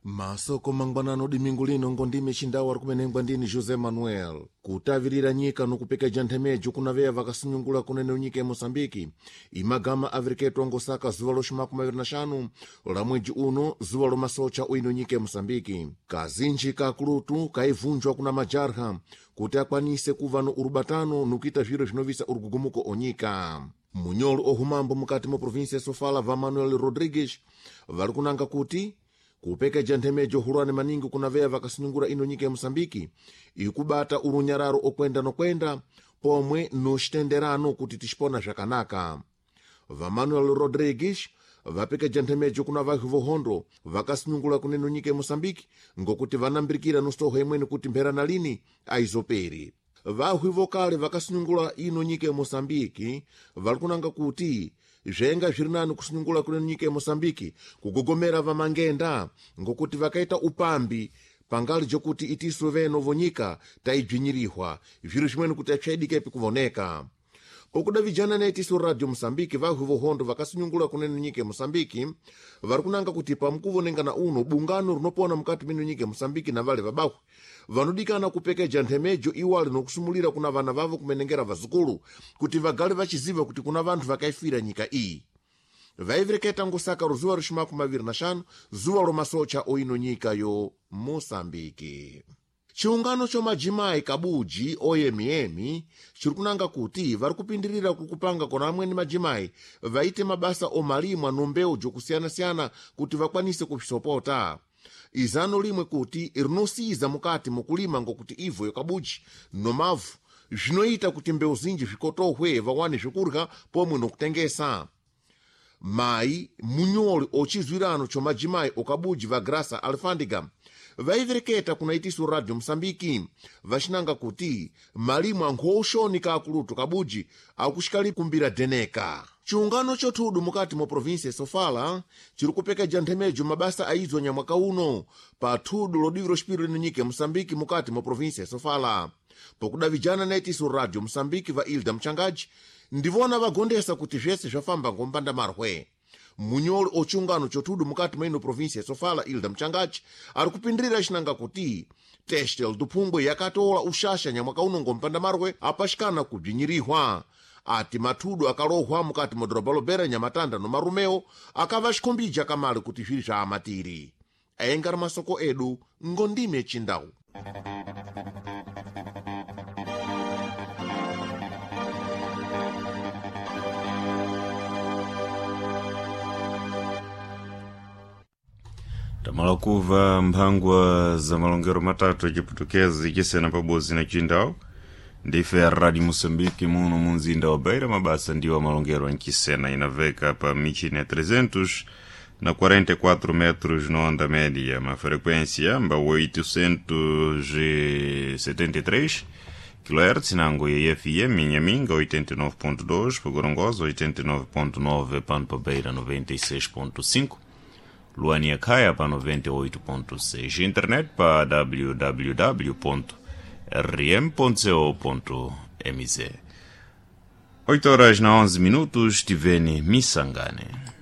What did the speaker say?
Masoko mangwanano dimingu lino ngondime chindawu ari kumenengwa ndini José Manuel. Kutavirira nyika nokupekeja nthemejo kuna veya vakasinyungula kunene nyika ya Moçambike, imagama avereketwa ngosaka zuva loxi 25 la mwedzi uno, zuva lomasocha uino nyika ya Moçambike. Kazinji kakulutu kaivunjwa kuna majarha kuti akwanise kuva no urubatano nukuita zviro zvinovisa urugugumuko onyika. Munyolo ohumambo mukati mo província ya Sofala va Manuel Rodrigues vari kunanga kuti kupekeja nthemejo hulwane maningi kuna veya vakasinyungura ino nyika ya Moçambike ikubata urunyararo okwenda nokwenda pomwe noxitenderano kuti tixipona zvakanaka. Va Manuel Rodrigues vapekeja nthemejo kuna vahi vohondo vakasinyungula kuneno nyika ya Moçambike ngokuti vanambirikira nosoho imweni kuti mphera na lini aizoperi. Vahwi vokale vakasinyungula ino nyika ya Moçambike vari kunanga kuti zvenga zviri nani kusinyungula kuneno nyika ya Moçambike kugogomera vamangenda ngokuti vakaita upambi pangali jokuti itisu veno vonyika taibvinyirihwa zviro zvimweni kuti apyaidikepi kuvoneka. Pokuda vijana na itisu Radio Moçambike, vahwi vohondo vakasinyungula kuneno nyika ya Moçambike vari kunanga kuti pamukuvonengana uno bungano rinopona mukati mino nyika ya Moçambike na vale vabahwi vanodikana kupekeja nthemejo iwali nokusumulira kuna vana vavo kumenengera vazukulu kuti vagale vachiziva kuti kuna vanthu vakaifira nyika iyi. Vaivereketa ngosaka ruzuva ruxi 25 zuva lomasocha oino nyika yo Moçambike. Chiungano cho majimai kabuji oyemiemi chiri kunanga kuti vari kupindirira kukupanga kona amweni majimai vaite mabasa omalimwa nombewu jokusiyana-siyana kuti vakwanise kuvisopota. Izano limwe kuti rinosiyiza mukati mukulima ngokuti ivo yokabuji nomavu zvinoita kuti mbewu zinji zvikotohwe vawane zvokurya pomwe nokutengesa. Mai munyoli ochizwirano cho majimai okabuji va Graça Alfândiga vaivereketa kuna itisu Radio Moçambike vaxinanga kuti malimu ankhouxoni kaakulutu kabuji akuxikali kumbira deneka. Chiungano chothudu mukati mo província ya Sofala chiri kupekeja nthemejo mabasa aizwa nyamwaka uno pa thudu lodiviro xipiro lino nyika ya Moçambike mukati mo província ya Sofala. Pokudavijana na itisu Radio Moçambike va Ilda Mchangaji ndivona vagondesa kuti zvese zvafamba ngompanda marwe. Munyoli ochiungano chothudu mukati mwa ino província ya Sofala Ilda Mchangaji ari kupindirira xinanga kuti Testel Duphungwe yakatola uxaxa nyamwaka uno ngompanda marwe apaxikana kubzinyirihwa. Ati mathudu akalohwa mukati mwa doroba lobera Nyamatanda no Marumeo akava xikhombija kamale kuti zviri zva amatiri. Aengari masoko edu ngondime chindau. Tamala kuva mphangwa za malongero matatu aciputukezi cisena pabodzi na cindau. Ndife ya Radio Moçambique muno munzinda wa Beira, mabasa ndiwo malongero ancisena inaveka pa michini ya 300 na 44 metros na onda média, uma frequência amba 873 kHz nango ya FM Inhaminga 89.2, pa Gorongosa 89.9, pano pa Beira 96.5, Luania Kaya pa 98.6, internet pa www.rm.co.mz. 8 horas na 11 minutos, tivene Missangane.